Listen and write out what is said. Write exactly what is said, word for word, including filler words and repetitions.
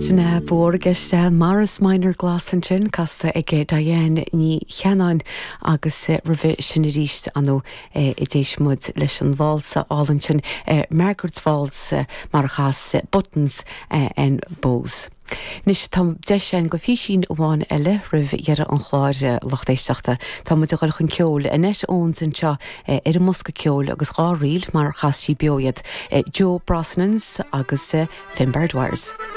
Sinna bhórgeiste Morris Minor Glas ansin casta ag Diane Ní Cheannáin agus roimhe sin arís an d'éist muid leis an válsa álainn sin Margaret's Waltz mar a chas Buttons and Bows. Anois tá deis againn do phísín amháin eile roimh dheireadh an chláir lucht éisteachta. Tá muid ag dul chun ceoil Annette Owens anseo ar an mbosca ceoil agus dhá ríl mar chas sí beo iad Joe Brosnans agus Finbar Dwyer.